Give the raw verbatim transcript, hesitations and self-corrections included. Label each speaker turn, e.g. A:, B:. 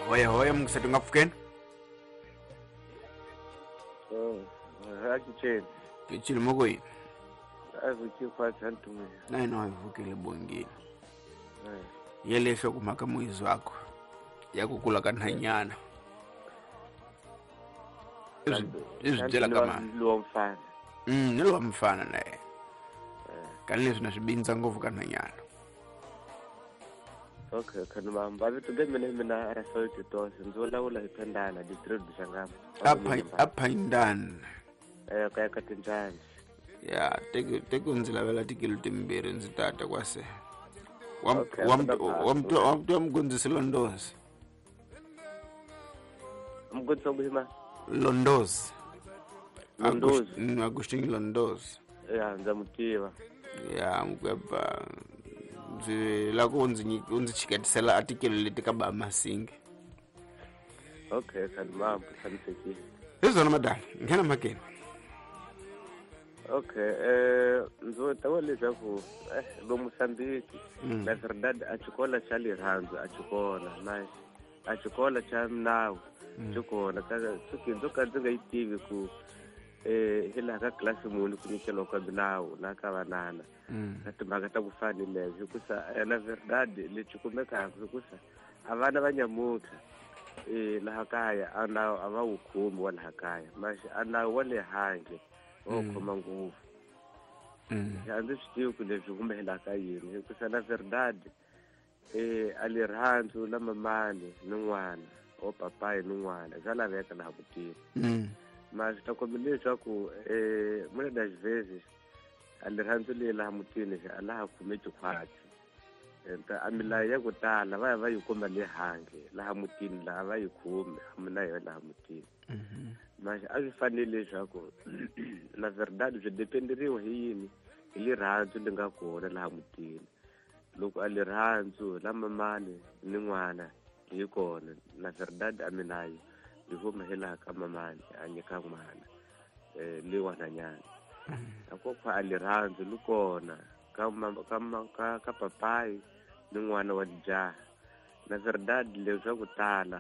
A: Hoya hoya mungisati nga pfukeni.
B: Oh, ha ke tshele.
A: Ke tshile mo go yini?
B: A vuki kwa tsantume.
A: Na ino a vukile bongile. Yele hlokomhaka muyizi wakho ya ku kula ka nhanyana. I swi byela ka mani?
B: Lowa mfana.
A: Mm, ni lowa mfana na yena. Kani leswi na swi bindza ngopfu ka nhanyana.
B: Okay, khani mamba vito ge mina mina Rafael Titos ndzi vulavula hi Phendana district Shangama.
A: Apha apha
B: Eh ka ka tinjani.
A: Ya, teke teke ndzi lavela tikilo timbirhi ndzi tata kwase. Wa wa wa wa mgondzisi Londozi.
B: Mgondzisi wa
A: Londozi.
B: Londozi.
A: Agustin Londozi.
B: Ya, ndza mutiva.
A: Ya, mkweba ndzi la ku ndzi ndzi chiketisela article leti ka ba Masingi.
B: Okay, khani mamba tshamisekile.
A: Hi swona madala, nghena mhakeni.
B: Okay, eh ndzi ta vula leswaku eh lo Mozambique na verdade a xikolo xa rirhandzu a xikolo na a xikolo xa nawu xi kona ka suki ndzo ka ndzi nga yi tivi ku eh hi laha ka klasi muni ku nyikeliwa ka milawu la ka vanana ka timhaka ta ku fana ni leswi hikusa na verdade lexi kumekaka hikusa a vana va nyamuntlha eh laha kaya a nawu a va wu khomi wa laha kaya maxi a nawu wa le handle o khoma ngopfu. A ndzi swi tivi ku leswi humelela ka yini hikusa na verdade eh a rirhandzu la mamani ni n'wana o papayi ni n'wana bya laveka laha mutini. Mas ta komba leswaku eh muna das vezes a rirhandzu leyi laha mutini a laha khomeki khwatsi a milawu ya ku tala va ya va yi kuma le handle laha mutini laha va yi khomi a mina yo laha mutini. Mas a swi fanele leswaku na verdade swi dependeriwa hi yini hi rirhandzu li nga kona laha mutini. Loko a rirhandzu la mamani ni n'wana hi kona na verdade a milawu yi huma hi laha ka mamani a nyika n'wana eh le wananyana. Akokwa a rirhandzu li kona ka ka ka ka papayi ni n'wana wa jaha na verdade leswaku tala